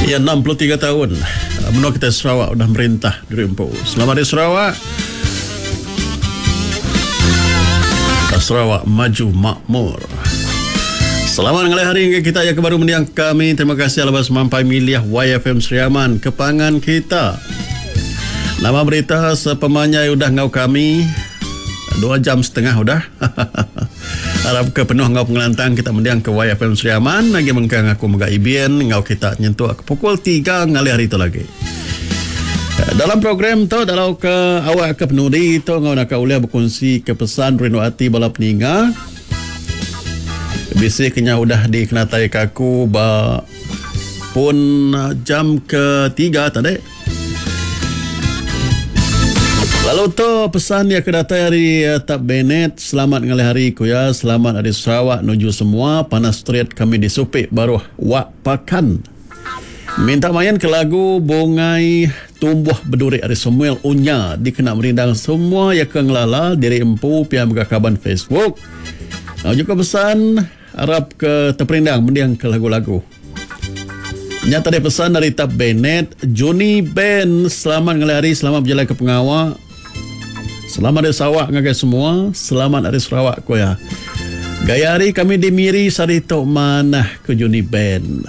Iya 63 taun menua kitai Sarawak udah merintah diri empu. Selamat Hari Sarawak. Sarawak maju makmur. Selamat ngalih hari ngagai kita yang ke baru mendiang kami. Terima kasih laban semampai milih YFM Sri Aman ke pangan kita. Nama berita sepemanjai udah enggau kami dua jam setengah udah. Arap ke penuh enggau pengelantang kita mending ke YFM Sri Aman agi mengkang aku mega Ibin enggau kita nyentuk ke pukul tiga ngalih hari tu lagi. Dalam program tu dalau ke awak ke penudi tu enggau naka ulih bekunsi ke pesan rindu ati bala peninga. Bisi ke nya udah dikenatai ke aku ba pun jam ke tiga tadi. Lalu tu pesan iya ke datai ari Tap Bennett, Selamat ngalih hari ku iya, selamat ari Sarawak nuju semua, panas terit kami di Supi baruh Wak Pakan. Minta main ke lagu Bungai Tumbuh Beduri ari Samuel Unya dikena merindang semua iya ke ngelala diri empu pia mega kaban Facebook. Lalu juga pesan arap ke teperindang mending ke lagu-lagu. Nya tadi pesan ari Tap Bennett, Juni Ben, selamat ngalih hari, selamat bejalai ke pengawa. Selamat ari Sarawak ngagai semua, selamat ari Sarawak ku iya. Gaya hari kami di Miri sehari tu manah ku Juni Ben.